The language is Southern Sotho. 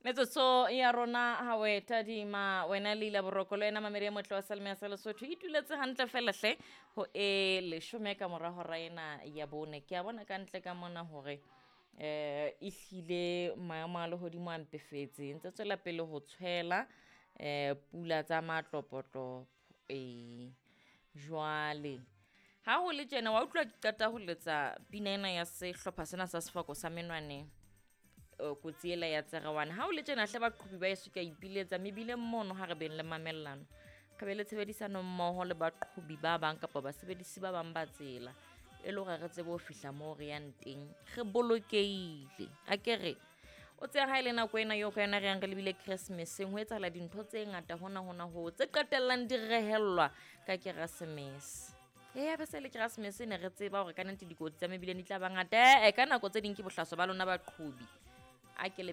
Metsotso ya rona ha o e tadima wena Leila Boroko le wena mamedi e motle wa Salome ya sa Lesotho e tuletse hantle fela hle ho e leshome ka mora hora ena ya bone. Ke a bona ka ntle ka mona hore eh ehlile maemo a lehodimo a mpefetse ntse tswela pele ho tshwela pula tsa matlopotlopo. Ee, jwale ha ho le tjena wa utlwa ke qeta ho letsa pina ena ya sehlopha sena sa sefako sa menwaneng, kotsi ela ya Tserewane. Ha o le tjena hle baqhobi ba eso ke a ipiletsa mebileng mono, ha re beng le mamellano, re be le tshebedisano mmoho le baqhobi ba bang kapa basebedisi ba bang ba tsela, e le hore re tsebe ho fihla moo re yang teng re bolokehile. A ke re o tsebe ha e le nako ena eo ka yona re yang re lebile Christmaseng, ho etsahala dintho tse ngata hona hona ho tse qetellang di rehellwa ka Keresemese. Ee, be se le Keresemese ne re tseba hore ka nnete dikotsi tsa mebileng di tla ba ngata. Ee, ka nako tse ding ke bohlaswa ba lona baqhobi. A ke le